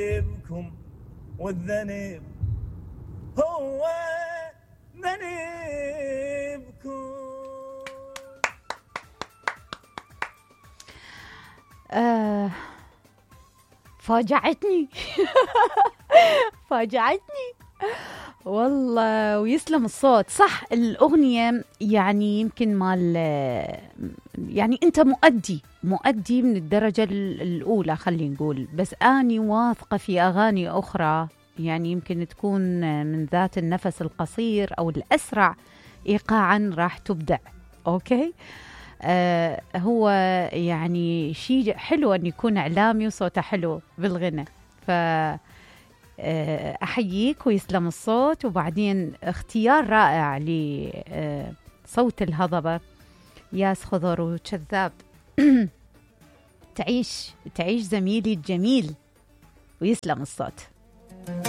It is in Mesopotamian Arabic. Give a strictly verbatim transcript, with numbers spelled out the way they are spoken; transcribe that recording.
بكم والذنب هو ذنبكم. آه فاجعتني فاجعتني والله، ويسلم الصوت. صح الأغنية يعني يمكن مال يعني أنت مؤدي مؤدي من الدرجة الأولى خلينا نقول، بس أني واثقة في أغاني أخرى يعني يمكن تكون من ذات النفس القصير أو الأسرع إيقاعا راح تبدع. أوكي. آه هو يعني شيء حلو أن يكون إعلامي وصوته حلو بالغنى، ف أحييك ويسلم الصوت. وبعدين اختيار رائع لصوت الهضبة ياس خضر وكذاب. تعيش تعيش زميلي الجميل ويسلم الصوت.